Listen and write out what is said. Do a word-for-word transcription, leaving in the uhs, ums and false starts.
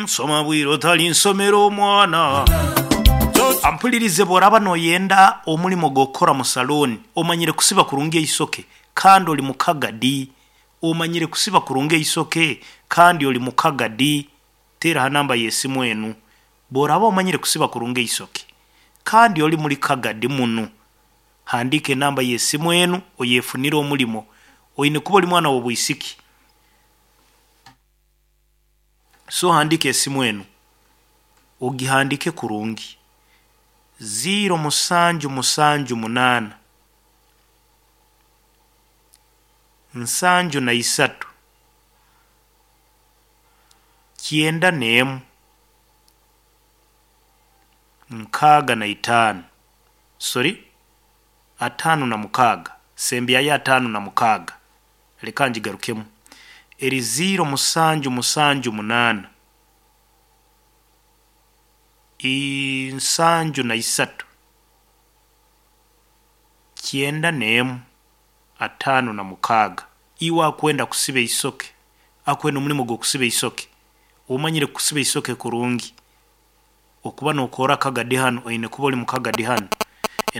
Soma bwire otali nsomero omwana. Ampulirize, bw'oraba noyenda omulimo gw'okukora mu salooni, omanyire kusiba kurungi eisoke kandi oli mukagadi, omanyire kusiba kurungi eisoke kandi oli mukagadi, teera ha namba y'esimu enu. Bw'oraba omanyire kusiba kurungi eisoke kandi oli muri kagadi muno, handiika enamba y'esimu enu oyefunire omulimo. Oine kuba oli mwana w'obwisiki, so handiika esimu enu, ogihandiike kurungi: ziiro musanju musanju munaana nsanju na isatu kyenda n'emu nkaaga na itaano, sorry, ataano na mukaaga, sembyayo ataano na mukaaga. Leka ngigarukemu, eri ziiro musanju musanju munaana nsanju na isatu kyenda n'emu ataano na mukaaga. Iwe akwenda kusiba eisoke, akwenda omulimo gw'okusiba eisoke, omanyire kusiba eisoke kurungi, okuba nookora kagadi hanu, oine kuba ori mukagadi hanu.